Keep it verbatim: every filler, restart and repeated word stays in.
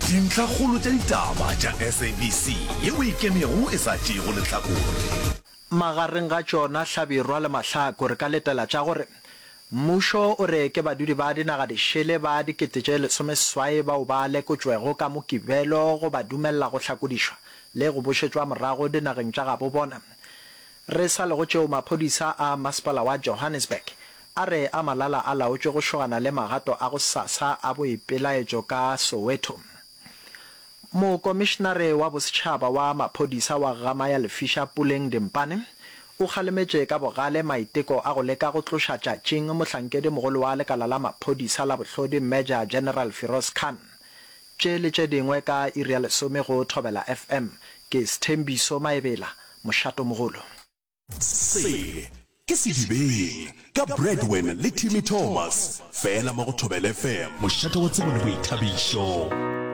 Dintlhakgolo tša ditaba tša S A B C yeo e ikemego e sa tšeego lehlakore. Magareng ga tšona Hlabirwa le Mahlako re ka letela tša gore mmušo o re ke badudi ba dinaga dišele ba dikete tše lesomeseswai bao ba lekotšwego ka Mokibelo go ba dumelela go hlakodišwa le go bošetšwa morago dinageng tša gabo bona. Re sa le go tšeo maphodisa a masepala wa Johannesburg a re a malala a laotšwe go šogana le magato a gosasa a boipelaetšo ka Soweto. Mokomišenare wa Bosetšhaba wa Maphodisa wa Gamaya Lefiša Puleng Dimpane o kgalemetše ka bogale maiteko a go leka go tloša tšatšing mohlankedimogolo wa lekala la maphodisa la bohlodi Major General Firoz Khan. Tše le tše dingwe ka iri ya lesome go Thobela F M. Ke Sthembiso Maebela, Mošatomogolo. Se ke Sedibeng ka Bradwin le Timmy Thomas, fela mo go Thobela F M, mošate wa tsebo le boithabišo.